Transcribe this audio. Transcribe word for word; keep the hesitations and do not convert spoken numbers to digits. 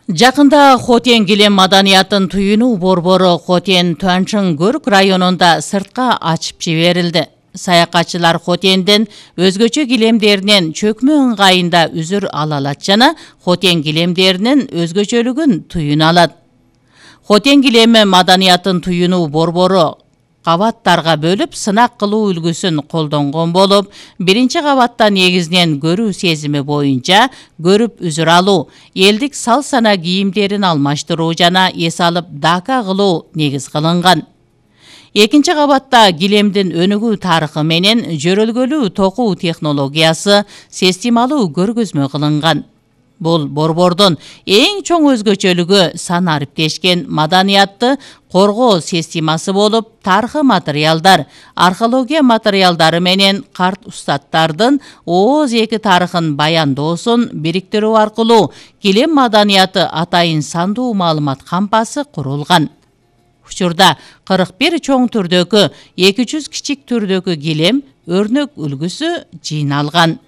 Жакында Хотен килем маданиятын туюнуу борбору Хотен Туанчын-Гөрк районунда сыртка ачып жиберилди. Саякатчылар Хотенден өзгөчө килемдеринен чөкмө ыңгайында үзүр ала алат жана Хотен килемдеринин өзгөчөлүгүн туюна алат. Хотен килеми маданиятын туюнуу борбору кабаттарга бөлүп сынак кылуу үлгүсүн колдонгон болуп, биринчи кабатта негизинен көрүү сезими боюнча көрүп үзүр алуу, элдик сал-сана кийимдерин алмаштыруу жана эс алып дака кылуу негиз кылынган. Экинчи кабатта килемдин өнүгүү тарыхы менен жөрөлгөлүү токуу технологиясы системалуу көргөзмө кылынган. Бул борбордун эң чоң өзгөчөлүгү сан ариптешкен маданиятты коргоо системасы болуп, тарыхый материалдар, археология материалдары менен карт устаттардын ооз эки тарыхын баяндоосун бириктирүү аркылуу килем маданияты атайын сандуу маалымат кампасы курулган. Учурда кырк бир чоң түрдөгү, эки жүз кичик түрдөгү килем өрнөк үлгүсү жыйналган.